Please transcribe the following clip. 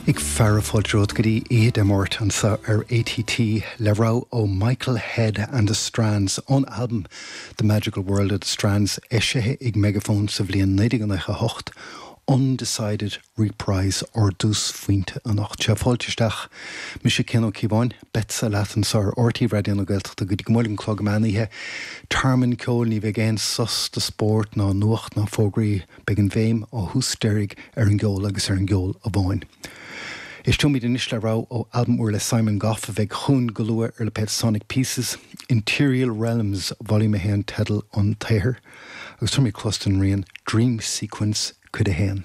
Ag fearadh fáilte romhat go dtí Oíche Dé Máirt anseo ar ATT le rogha ó Michael Head and the Strands ón albam The Magical World of the Strands eisithe ag Megaphone sa bhliain 1998, Undecided Reprise ár dtúsphointe anocht. Sea, fáilte isteach. Mise Cian Ó Cíobháin, beadsa leat anseo ar RTÉ Raidió na Gaeltachta go dtí go mbuailfidh an clog meán oíche. Tearmann ceoil, ní bheidh aon sos do spórt ná nuacht ná fógraí. Beidh an bhéim ó thús deiridh ar an gceol agus ar an gceol amháin. Éisteoimid anois le rogha ó albam úr le Simon Gough a bheidh chugainn go luath ar lipéad Sonic Pieces, Interial Realms Volume 1 teideal an tsaothair, agus tabharfaimid cluas don rian Dream Sequence Cuid 1.